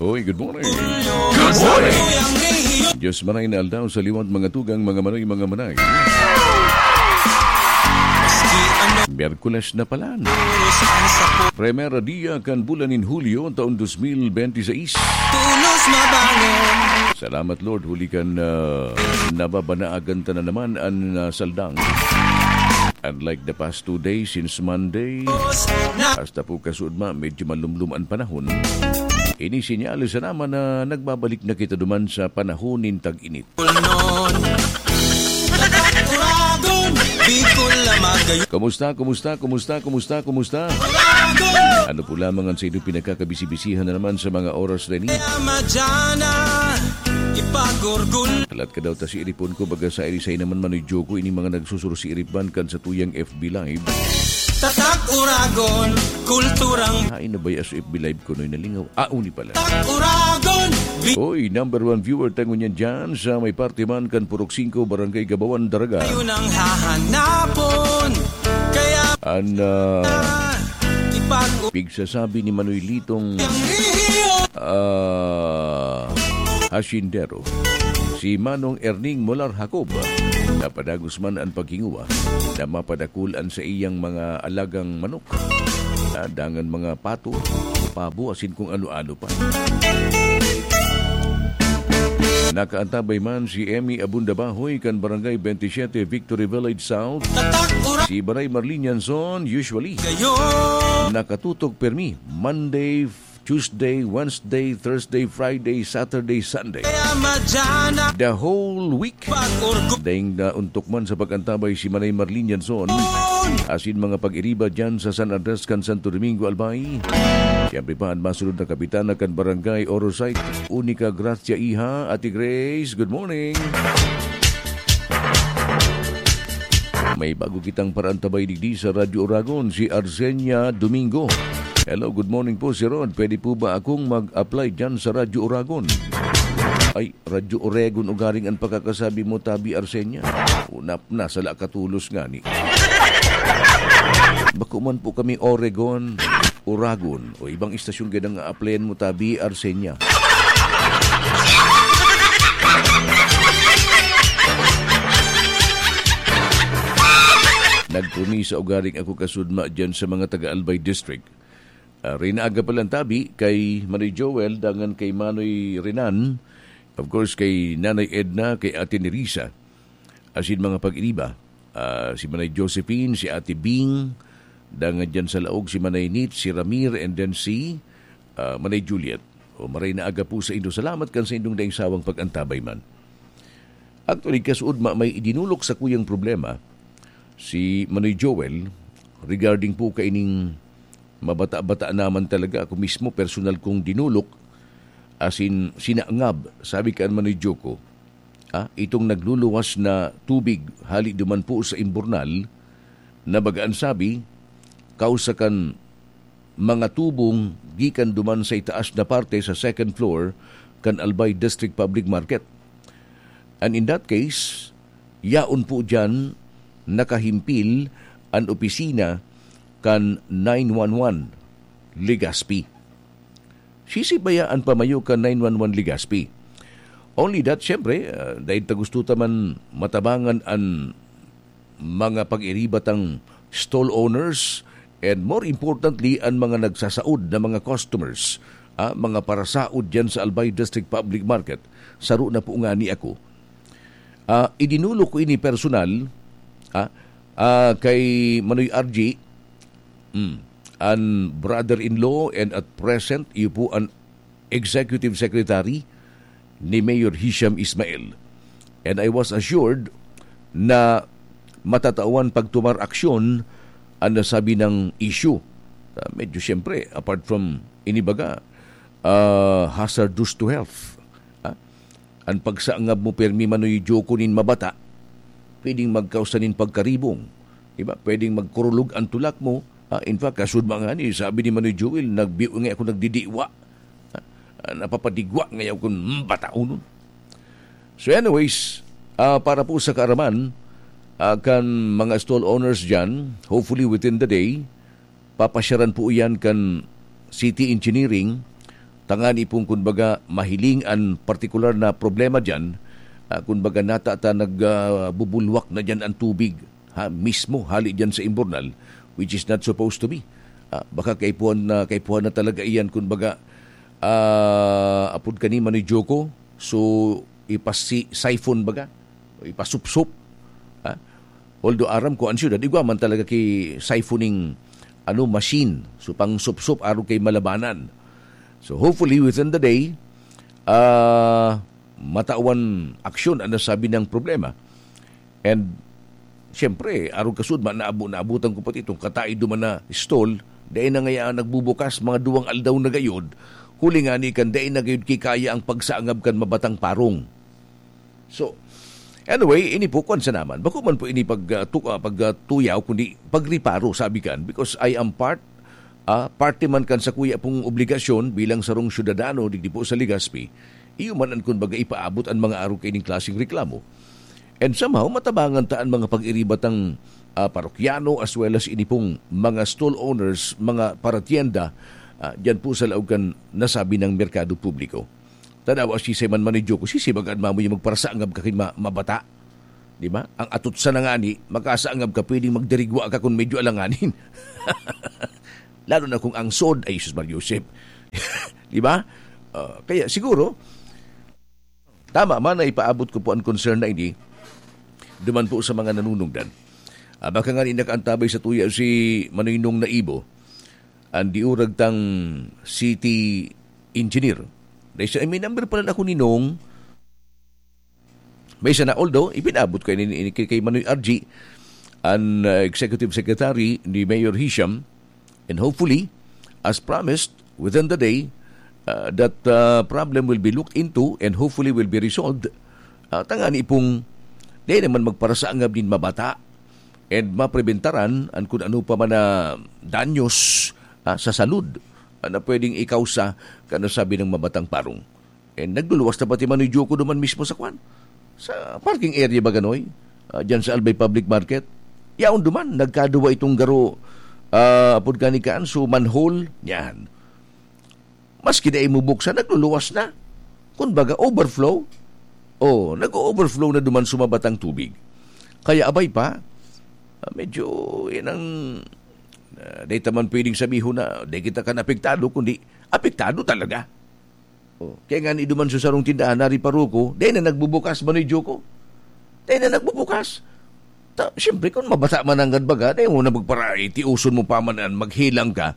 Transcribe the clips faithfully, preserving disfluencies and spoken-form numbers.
Hoy, good morning. Good morning. Diyos maray na aldaw sa liwat, mga tugang, mga manay, mga manay. Miyerkules na palan. Primera dia kan bulan nin Hulyo, taon dos mil benti seis. Salamat, Lord, huli kan, ah, nababanaagan ta na naman an, ah, saldang. Unlike the past two days, since Monday, hasta po kasuodma, medyo malumlom an panahon. Ini sinyales na naman na nagbabalik na kita duman sa panahon nin tag-init. Kumusta, kumusta, kumusta, kumusta, kumusta? Ano po lamang ang sa inyong pinagkakabisi-bisihan na naman sa mga oras na ini? Ipagurgul. Halat ka daw ta si iripon ko, baga sa irisay naman manudyo ko, ini mga nagsusuro si iripban kan sa tuyang F B Live. Tatak Uragon, kulturang Hain na ba yung F B Live ko noy nalingaw? Ah, uni pala. Tatak Uragon, bi- Oy, number one viewer ta ngunyan dyan sa may parte man kan Purok singko, Barangay Gabawan, Daraga. Yun ang hahanapon. Kaya An, ah, ipag- pigsasabi ni Manoy Litong, ah, Hasyendero, si Manong Erning Molar Jacob, napadagos man an paghinguwa na mapadakul an saiyang mga alagang manok, ah, dangan mga pato, pabo, asin kung ano-ano pa. Nakaantabay man si Emmy Abunda Bahoy kan Barangay twenty-seven, Victory Village South. Si Baray Marlin Yanson, usually, nakatutok permi, Monday, Tuesday, Wednesday, Thursday, Friday, Saturday, Sunday. The whole week. Daing na untok man sa pag-antabay si Manay Marlin Yanson, asin mga pag-iriba dyan sa San Andres kan Santo Domingo, Albay. Siyempre pa, an masunod na kapitana kan Barangay Orosite, Unica Gracia Iha, Ate Grace, good morning. May bago kitang paraantabay digdi sa Radyo Oragon, si Arsenia Domingo. Hello, good morning po, Sir Rod. Pwede po ba akong mag-apply dyan sa Radyo Oragon? Ay, Radyo Oregon ugaring an pakakasabi mo, tabi, Arsenia. Unap na, sala ka tolos ngani. Bako man po kami Oregon, Oragon, o ibang istasyon gad ang a-applyan mo, tabi, Arsenia. Nagpromisa ugaring ako kasudma dyan sa mga taga Albay District. Ah, Reyna Aga palang tabi, kay Manoy Joel, dangan kay Manoy Renan, of course, kay Nanay Edna, kay Ate Nerissa, asin mga pag-iriba. Ah, si Manay Josephine, si Ate Bing, dangan dyan sa laog si Manay Nit, si Ramir, and then si, ah, Manay Juliet. O, maray na aga po sa indo. Salamat kan sa indong daing sawang pag-antabay man. Actually, kasuod ma-, may idinulok sa kuyang problema si Manoy Joel regarding po kaining mabata-bata naman talaga. Ako mismo, personal kong dinulok, asin sinangab, sabi kan Manoy Joko. Ah, itong nagluluwas na tubig hali duman po sa Imbornal, na baga an sabi, kausa kan mga tubong gikan duman sa itaas na parte sa second floor kan Albay District Public Market. And in that case, yaon po diyan nakahimpil an opisina kan nine one one Legazpi. Sisibaya an pamayo kan nine one one Legazpi. Only that, siyempre, ah, dahil ta gusto ta man matabangan an mga pag-iriba tang stall owners, and more importantly, an mga nagsasaod na mga customers, ah, mga parasaod diyan sa Albay District Public Market, saro na po ngani ako. Ah, idinulok ko ini personal, ah, ah, kay Manoy R G, mm, an brother-in-law, and at present, iyo po an executive secretary ni Mayor Hisham Ismail. And I was assured na matatawan pagtumar aksyon an nasabi nang issue. Ah, medyo siyempre, apart from inibaga, ah, hazardous to health. Ah, an pagsangab mo permi manoy joko nin mabata, pwedeng magkausa nin pagkaribong. Diba? Pwedeng magkurulog an tulak mo. Ah, in fact, kasud mga ni, sabi ni Manoy Joel, nagbiyo nga ako nagdidiwa. Ah, napapadigwa ngayon kun bataonon. So anyways, ah, para po sa kaaraman, ah, kan mga stall owners dyan, hopefully within the day, papasyaran po iyan kan City Engineering, Tangani pong, kumbaga, mahiling an partikular na problema diyan, ah, kumbaga, nata ta nag, ah, bubulwak na diyan ang tubig, ha, mismo hali diyan sa Imbornal, which is not supposed to be. Ah, baka kaipuhan na, kaipuhan na talaga iyan, kumbaga, ah, apod kani Manoy Joko, so, ipasi-, siphon baga, o ipasupsop, ha? Although aram ko, ang syudad, igwa man talaga ki siphoning, ano, machine. So, pangsupsop, arog kay malabanan. So, hopefully, within the day, ah, matawan aksyon ang nasabi ng problema. And, siyempre, arog kasud, ma-, naabo-, naabutan ko pati itong kataid duman na stall, dai na ngaya nagbubukas, mga duwang aldaw na gayod, huli ngani kan dai na gayod kikaya ang pagsangab kan mabatang parong. So, anyway, ini po, kwan sa naman. Bako man po ini pag, ah, tu-, ah, pag, ah, tuyaw, kundi pagriparo, sabi kan. Because I am part, ah, parte man kan sa kuya pong obligasyon bilang sarong syudadano digdi po sa Legazpi. Iyo man an, kumbaga, ipaabot an mga arog kaining klaseng reklamo. And somehow, matabangan ta an mga pag-iriba tang, ah, parokyano as well as ini pong mga stall owners, mga paratienda, ah, diyan po sa laog kan nasabi ng merkado publiko. Tadaw, asisay man, Manoy Joko, sisay baga an mamuya magparasangab ka kin ma-, mabata. Di ba? Ang atutsa na ngani, makasangab ka, pwedeng magdirigwa ka kung medyo alanganin. Lalo na kung ang sod, ay, Jesus Maria Joseph. Di ba? Ah, kaya siguro, tama man na ipaabot ko po ang concern na ini, duman po sa mga nanunungdan. Ah, baka nga rin nakaantabay sa tuya si Manoy Nong Naibo, ang diurag tang city engineer. Dahil siya, may number pala ako ni Nong. May isa na, although, ipinabot ko ini, ini kay, kay Manoy R G, ang, uh, executive secretary ni Mayor Hisham, and hopefully, as promised, within the day, uh, that, uh, problem will be looked into and hopefully will be resolved. Uh, tangani pong, di naman magparasangab nin mabata and mapreventaran ang kung ano pa man na danyos, ah, sa salud, ah, na pwedeng ikausa kan nasabi ng mabatang parong. And nagluluwas na pati Manoy Joko duman mismo sa kwan, sa parking area ba ganoy? Ah, dyan sa Albay Public Market. Yaon duman, nagkaduwa itong garo, ah, apod kani kaan, so manhole, yan. Maski dai mo buksan, nagluluwas na. Kumbaga, overflow. Oh, nag-o-overflow na duman sumabat ang tubig. Kaya abay pa, ah, medyo yan ang, ah, dai ta man pwedeng sabihon na dai kita kan apektado, kundi apektado talaga. Oh, kaya nga ni duman sa sarong tindahan, nari paruko, dai na nagbubukas, Manoy Joko. Dai na nagbubukas. Ta, siyempre, kung mabasa man ang baga, dai mo na magparaiti, uson mo pa man an maghilang ka,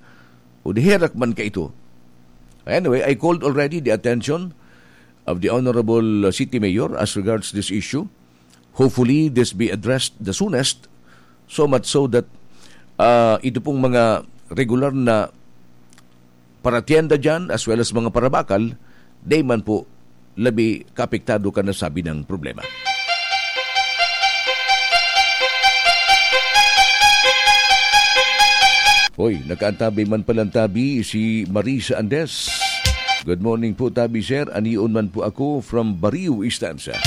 o di herak man ka ito. Anyway, I called already the attention of the Honorable City Mayor as regards this issue. Hopefully, this be addressed the soonest. So much so that, ah, ito pong mga regular na paratienda dyan, as well as mga parabakal, di man po labi kaapektado kan nasabi na problema. Hoy, nakaantabay man palang tabi si Marisa Andes. "Good morning po, tabi, sir. Anion man po ako from Barrio Estancia."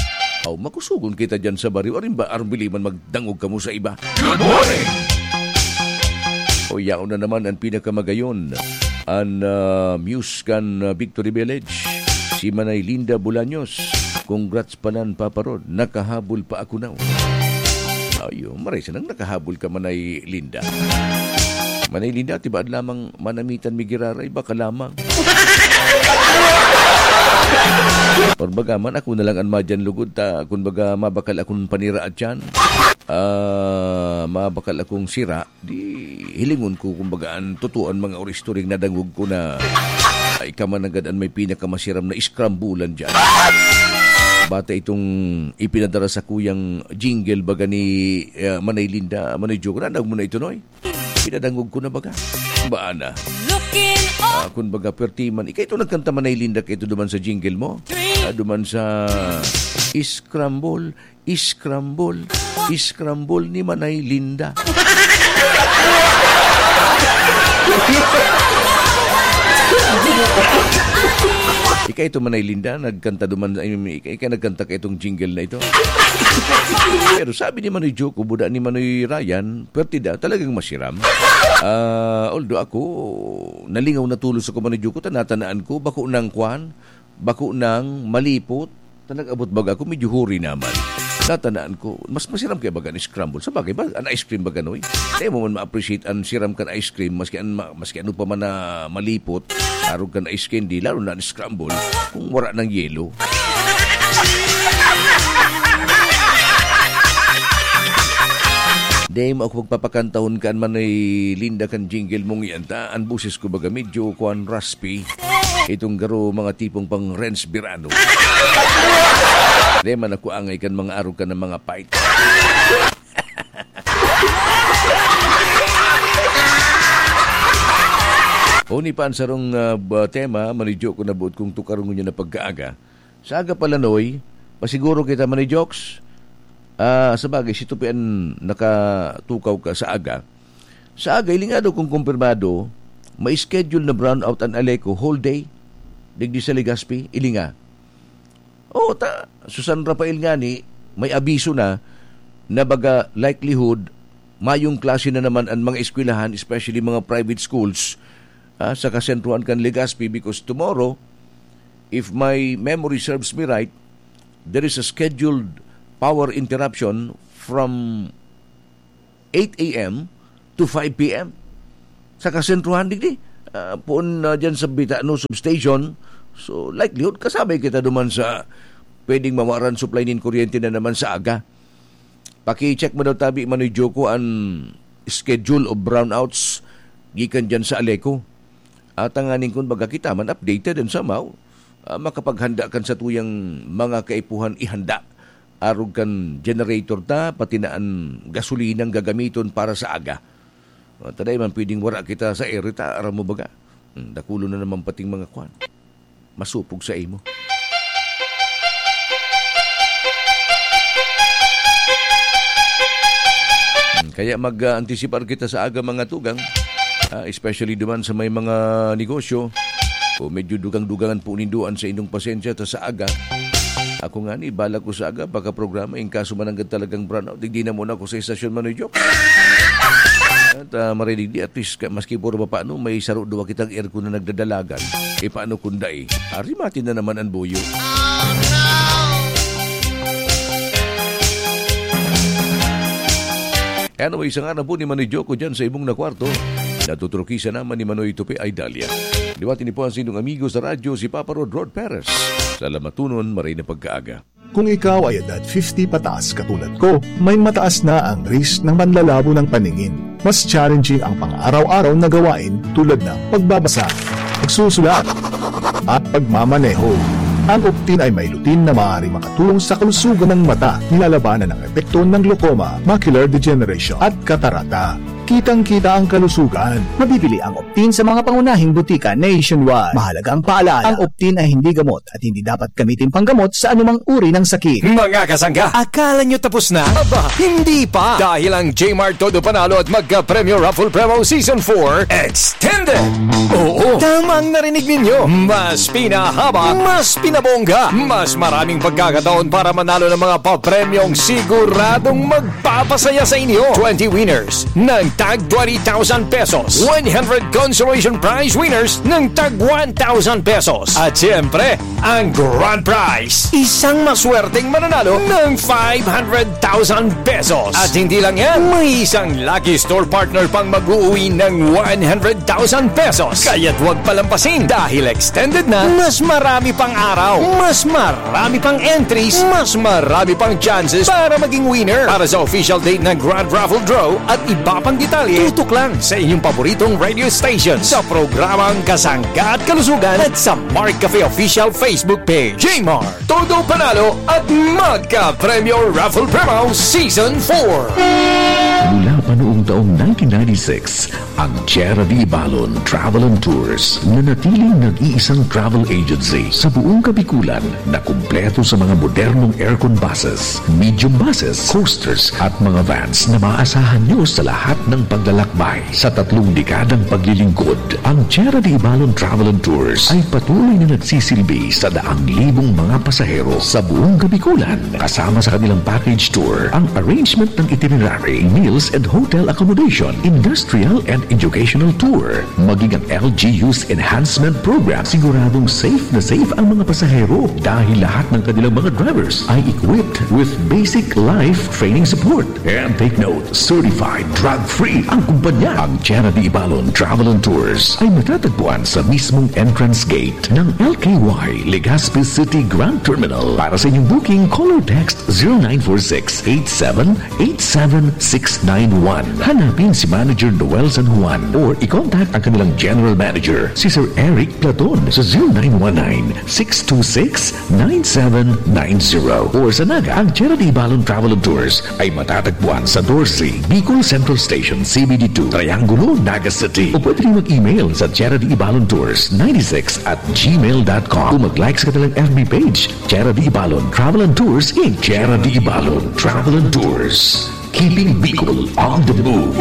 Aw, makusugon kita dyan sa Barrio. Arin ba, arang bili man magdangog kamo sa iba. Good morning! O, yaon na naman ang pinakamagayon. An, ah, muse kan, ah, Victory Village, si Manay Linda Bolaños. Congrats palan, Papa Rod. Nakahabol pa ako now. Ayo, maray sanang nakahabol ka, Manay Linda. Manay Linda, tibaad lamang manamitan mi giraray, baka lamang. Or baga man, ako na lang an madyan lugod ta, kun baga, mabakal akong panira at yan. Ah, mabakal akong sira. Di hilingon ko, kumbaga, an totoo an mga ori-, istoryang nadangog ko na ay ka man agad an may pinakamasiram na iskrambulan diyan. Bata itong ipinadara sa kuyang jingle baga ni, eh, Manay Linda, Manay Joke. Nadangog mo na ito, Noy? Pinadangog ko na baga. Baan na? Looking up. Ah, kun baga, perti man. Ika ito nagkanta, Manay Linda, ka ito duman sa jingle mo? Ah, duman sa Scramble. Scramble, scramble ni Manay Linda. Kaya ito, Manay Linda, nagkanta duman, ay, ika, ika nagkanta ka itong jingle na ito. Pero sabi ni Manoy Joko, buda ni Manoy Ryan, pwerte daw, talagang masiram. Ah, although ako, nalingaw na tulos ako, Manoy Joko, tanatanaan ko, bako nang kwan, bako nang malipot, ta nag-abot baga ako, medyo huri naman. Natanaan ko, mas masiram kaya baga an scramble. Sa bagay ba, an ice cream baga, Noy? Di mo man ma-appreciate an siram kan ice cream, maski an ma-, maski ano pa man na malipot, arog kan ice candy, lalo na an scramble, kung wala ng yelo. Di mo ako pagpapakantahon kan Manoy Linda kan jingle mong yan, ta? An boses ko baga medyo kuan, raspy. Itong garo, mga tipong pang Renz Birano. Di man ako angay kan mga arog ka ng mga fight. Uni pa ang sarong, ah, ba-, tema, manidyo ko na buot kong tukaron ngunyan na pagkaaga. Sa aga pala, Noy, pasiguro kita, Manidyoks. Ah, sa bagay, si Tupi an nakatukaw ka sa aga. Sa aga, ilinga daw kung kumpirmado, may schedule na brownout an Aleco whole day. Digdi sa Legazpi, ilinga. Oo, ta, Susan Rafael ngani, may abiso na, na baga likelihood, mayong klase na naman ang mga eskwelahan, especially mga private schools, ah, sa kasentruhan kan Legazpi, because tomorrow, if my memory serves me right, there is a scheduled power interruption from eight a m to five p m sa kasentruhan digdi. Ah, poon na dyan sa Bitano Substation. So, likelihood, kasabay kita duman sa pwedeng mawaran supply nin kuryente na naman sa aga. Paki-check mo daw tabi, Manoy Joko, an schedule of brownouts gikan dyan sa Aleco. At tanganing kun baga kita man updated and somehow, ah, makapaghanda kan satuyang mga kaipuhan ihanda. Arog kan generator ta, pati na an gasolinang gagamiton para sa aga. Ah, taday man pwedeng wara kita sa ere ta, aram mo baga? Hmm, dakulo na naman pating mga kwan. Masupog sa imo. Hmm, kaya mag, ah, antisipar kita sa aga, mga tugang. Ah, especially duman sa may mga negosyo. O medyo dugang-dugangan po nindo an sa inyong pasensya ta sa aga. Ako nga ni, bala ko sa aga, baka programa, in kaso mananggad talagang brownout, digdi na muna ako sa estasyon, Manoy Joke. At, ah, maray digdi, at least, ka-, maski puro pa paano, may saro duwa kitang aircon na nagdadalagan. E, paano kung dai? Ari, mati na naman an buyo. Anyway, sa ngaran po ni Manoy Joko dyan sa imong na kwarto, natuturukisan naman ni Manoy Tupi ay Dalia. Liwati ni po ang sinong amigo sa radyo, si Papa Rod Rod Perez. Salamatunon, maray na pagkaaga. Kung ikaw ay edad fifty pataas katulad ko, may mataas na ang risk ng panlalabo ng paningin. Mas challenging ang pang-araw-araw na gawain tulad ng pagbabasa, pagsusulat, at pagmamaneho. Ang Optin ay may lutein na maaaring makatulong sa kalusugan ng mata, nilalabanan ang epekto ng glaucoma, macular degeneration, at katarata. Kitang-kita ang kalusugan. Mabibili ang Optin sa mga pangunahing butika nationwide. Mahalagang paalala, ang Optin ay hindi gamot at hindi dapat gamitin panggamot sa anumang uri ng sakit. Mga kasangga, akala nyo tapos na? Aba, hindi pa! Dahil ang J-Mart Todo Panalo at Magka Premyo Raffle Promo Season four Extended! Oo, tamang narinig ninyo! Mas pinahaba, mas pinabongga, mas maraming pagkakataon para manalo ng mga papremyong siguradong magpapasaya sa inyo. Twenty winners ng tag twenty thousand pesos, one hundred consolation prize winners ng tag one thousand pesos, at siyempre, ang grand prize, isang maswerteng mananalo ng five hundred thousand pesos. At hindi lang yan, may isang lucky store partner pang mag-uuwi ng one hundred thousand pesos. Kaya't huwag palampasin dahil extended na, mas marami pang araw, mas marami pang entries, mas marami pang chances para maging winner. Para sa official date ng Grand Raffle Draw at iba pang detalye, tutok lang sa inyong paboritong radio station sa programang Kasangga at Kalusugan at sa Mark Cafe Official Facebook Page. J-Mart, Todo Panalo at Magka Premyo Raffle Promo Season four. Mula pa noong taong nineteen ninety-six, ang Tierra de Ibalon Travel and Tours, nanatiling nag-iisang travel agency sa buong Kabikulan na kumpleto sa mga modernong aircon buses, medium buses, coasters at mga vans na maaasahan nyo sa lahat ng paglalakbay. Sa tatlong dekadang paglilingkod, ang Tierra de Ibalon Travel and Tours ay patuloy na nagsisilbi sa daang libong mga pasahero sa buong Kabikulan. Kasama sa kanilang package tour, ang arrangement ng itinerary, meals and hotel accommodation, industrial and educational tour, maging ang L G U's enhancement program. Siguradong safe na safe ang mga pasahero dahil lahat ng kanilang mga drivers ay equipped with basic life training support. And take note, certified, drug-free ang kumpanya. Ang Tierra de Ibalon Travel and Tours ay matatagpuan sa mismong entrance gate ng L K Y Legazpi City Grand Terminal. Para sa inyong booking, call or text zero nine four six eight seven eight seven six nine one. Hanapin si Manager Noel San Juan or i-contact ang kanilang General Manager, si Sir Eric Platon, sa zero nine one nine six two six nine seven nine zero. Or sa Naga, ang Tierra de Ibalon Travel and Tours ay matatagpuan sa Dorsey, Bicol Central Station, C B D two, Triangulo, Naga City. O pwede rin mag-email sa Tierra de Ibalon Tours ninety six at gmail dot com. O mag-like sa kanilang F B page, Tierra de Ibalon Travel and Tours, Inc. Tierra de Ibalon Travel and Tours. Keeping Bicol on the move.